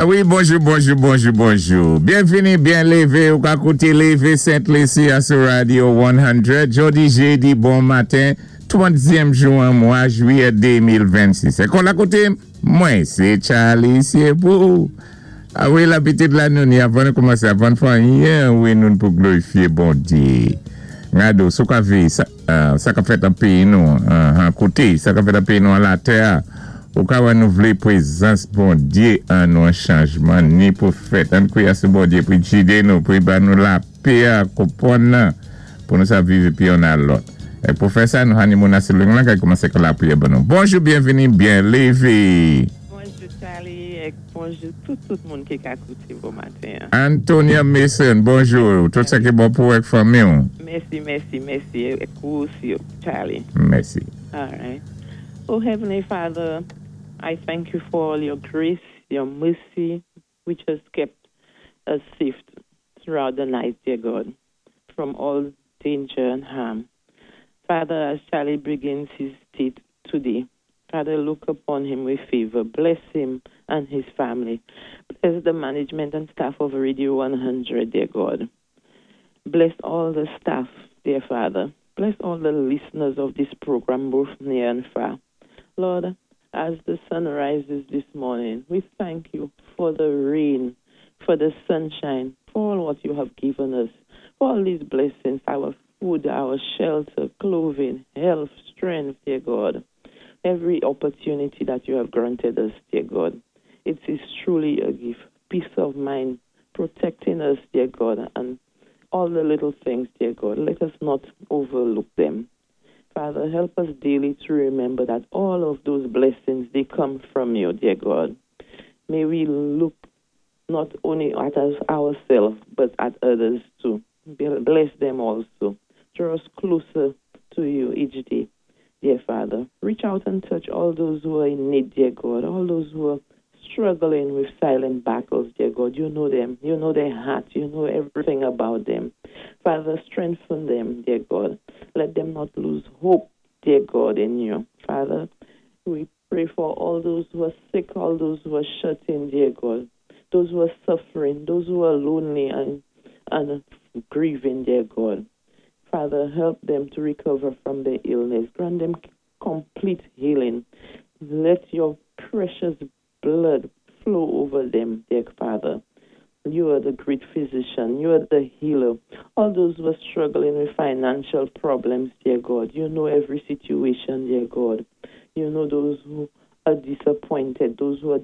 Ah wi, bonjou, bonjou, bonjou, bonjou. Byenvini, byen lévé, ou ka kouté Lévé Sent Lisi sou Radio 100. Jòdi, jédi, bon maten, 30èm jou an mwa jwiyè 2026. É kon la koté, mwen, sé Charlie Siepou. Ah wi, labitud la nou ni avan nou koumansé, avan fè anyen, wi, nou pou glorifié Bondié. Gado, sou ka vi, sa, sa ka fèt an péyi nou, an kouté, sa ka fèt an péyi nou an latè, ou ka wè nou vlé pwézans Bondié an nou an chanjman ni pou fèt. Ann kwiyé sou Bondié pou gidé nou, pou ba nou lapè, konpwann nan, pou nou sa viv épi youn a lòt. É pou fè sa, nou hani moun asou ling lan, kay koumansé kon lapriyè ban nou. Bonjou, byenvini, byen lévé. Bonjou Charlie é bonjou tout moun ki ka kouté bon maten. Antonia Mason, bonjou. Tout sa ki bon pou ak fanmi. Mèsi, mèsi, mèsi. É ou osi, Charlie. Mèsi. All right. Oh, Heavenly Father, I thank you for all your grace, your mercy, which has kept us safe throughout the night, dear God, from all danger and harm. Father, as Charlie begins his day today, Father, look upon him with favor. Bless him and his family. Bless the management and staff of Radio 100, dear God. Bless all the staff, dear Father. Bless all the listeners of this program, both near and far. Lord, as the sun rises this morning, we thank you for the rain, for the sunshine, for all what you have given us, for all these blessings, our food, our shelter, clothing, health, strength, dear God. Every opportunity that you have granted us, dear God. It is truly a gift. Peace of mind, protecting us, dear God, and all the little things, dear God. Let us not overlook them. Father, help us daily to remember that all of those blessings, they come from you, dear God. May we look not only at us ourselves, but at others too. Bless them also. Draw us closer to you each day, dear Father. Reach out and touch all those who are in need, dear God, all those who are struggling with silent battles, dear God. You know them. You know their heart. You know everything about them. Father, strengthen them, dear God. Let them not lose hope, dear God, in you. Father, we pray for all those who are sick, all those who are shut in, dear God, those who are suffering, those who are lonely and grieving, dear God. Father, help them to recover from their illness. Grant them complete healing. Let your precious blood flow over them, dear Father. You are the great physician. You are the healer. All those who are struggling with financial problems, dear God, you know every situation, dear God. You know those who are disappointed, those who are